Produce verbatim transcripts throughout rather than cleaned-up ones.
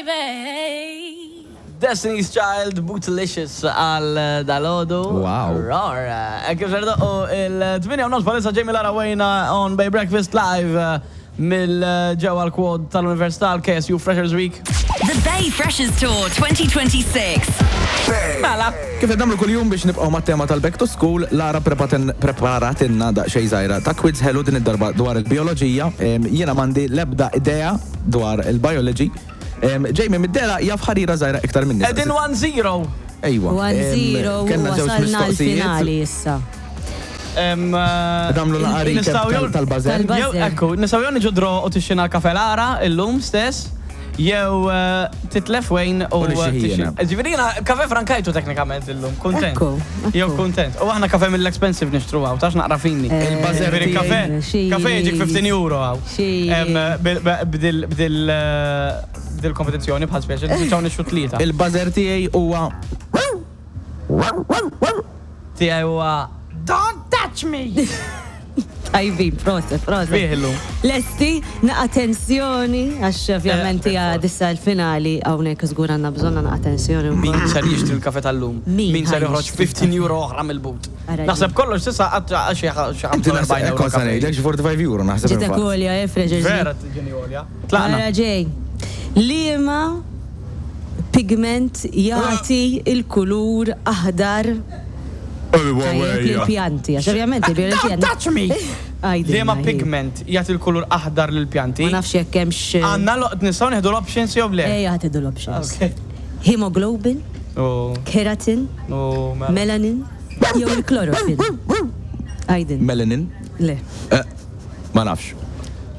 Baby. Destiny's Child, Bootylicious għal dalgħodu. Wow. Rar. Kif ser u il-tmienja u nofs bħalissa, Jamie Lara Wayne on Bay Breakfast Live eh, mill-ġewwa l-quad tal-Università, l-K S U Freshers Week. The Bay Freshers Tour twenty twenty-six. Mela. Kif qed nagħmlu kuljum biex nibqgħu mat-tema tal-back to school, Lara prepaten- preparatilna daqsxejn żgħira ta' quiz ħelu, din id-darba dwar il-bioloġija. Em, Jiena m'għandi l-ebda idea dwar il-biology. Em, Jamie mid-dehra jaf ħarira żgħira iktar minni. Edin one zero. Ejwa. one zero Em, Kellna żewġ wasalna mistoqsijiet. l-finali issa. Em, eh, Nagħmlu naqra recap nistgħu jew- tal-buzzer. Tal-buzzer. Jew, ekku, nistgħu jew niġu draw u tixtrina kafe Lara illum stess, jew eh, titlef Wayne u U nixxi tixxi- jiena. Ġifieri jiena kafe frankajtu teknikament illum, kontent. Ekku, ekku. Jew kontent. U aħna kafe mill-expensive nixtru hawn, tax naqra fini. Il-buzzer Ġifieri tiegħi- kafe, Xi- kafe jiġik ħmistax euro hawn. Xi- Em, bil- Bdil bdil eh, bdil kompetizzjoni bħal speċi, nispiċċaw nixtru tlieta. Il-buzzer tiegħi huwa Tiegħi huwa "Don't touch me!" Tajbin, proset, proset. Fih illum. Lesti, naqa tensjoni, għax ovvjament Eh, hija dissa l-finali, hawnhekk żgur għandna bżonna naqa tensjoni Min wkoll. ser jixtri l-kafe tal-lum? Min Min ser ħa joħroġ jixtri ħmistax euro oħra mill-but? Ara. Naħseb kollox s'issa għadd xi Inti naħseb ħamsa u erbgħin euro kont sa kafe. ngħidlek xi erbgħa u ħamsin euro naħseb. Ġitek infatti. għolja, eh, Freshers. Vera tiġini għolja. Tlaqna. Ara ġej. Liema pigment jagħti il-kulur aħdar tajjeb lill-pjanti? Għax ovvjament il-bioloġija. Don't touch me! Għajdilna, Liema hi. pigment jagħti l-kulur aħdar lill-pjanti? Ma nafx jekk hemmx. Għandna lo- nistgħu nieħdu l-options jew le? Ejja, ħa tieħdu l-options. Ok. Hemoglobin, U keratin, u mela. melanin, jew il-chlorophyll. Għajdin. Melanin? Le. Eh, Ma nafx.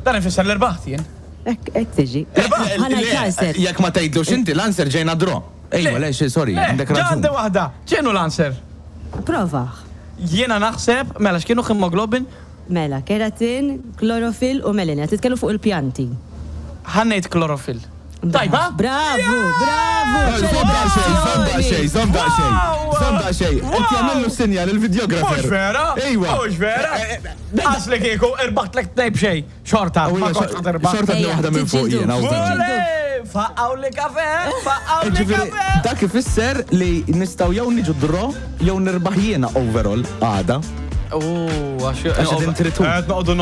Dan ifisser l-erbaħt jien. Ek, ek tiġi. Ħa ngħid l-answer. Jekk ma tgħidlux inti l-answer, ġejna draw. Ejwa, le, xi- sorry, Le, għandek ġa raġun. għandi waħda. X'inhu l-answer? Prova. Jiena naħseb, mela x'kienu, hemoglobin? Mela, keratin, chlorophyll u melanin. Titkellmu fuq il-pjanti. Ħa ngħid chlorophyll. Tajba? Bravo, bravo. Żomm daqsxejn, żomm daqsxejn, żomm daqsxejn. Wow! Żomm daqsxejn. Qed jagħmlu sinjal il-videographer. Mhux vera? Ejwa. Mhux vera? Għax li kieku irbaħtlek tnejn b'xejn. Xorta, ma kontx ħa tirbaħ. Xorta Ejja, waħda minn fuq tiġġieldu. jiena. U vera. Ole! Faqqaw li kafe, faqqaw li Ġifieri, kafe. dak ifisser li nistgħu jew niġu draw jew nirbaħ jiena overall għada. Oh, għax Għax qegħdin tritu. Qed noqogħdu.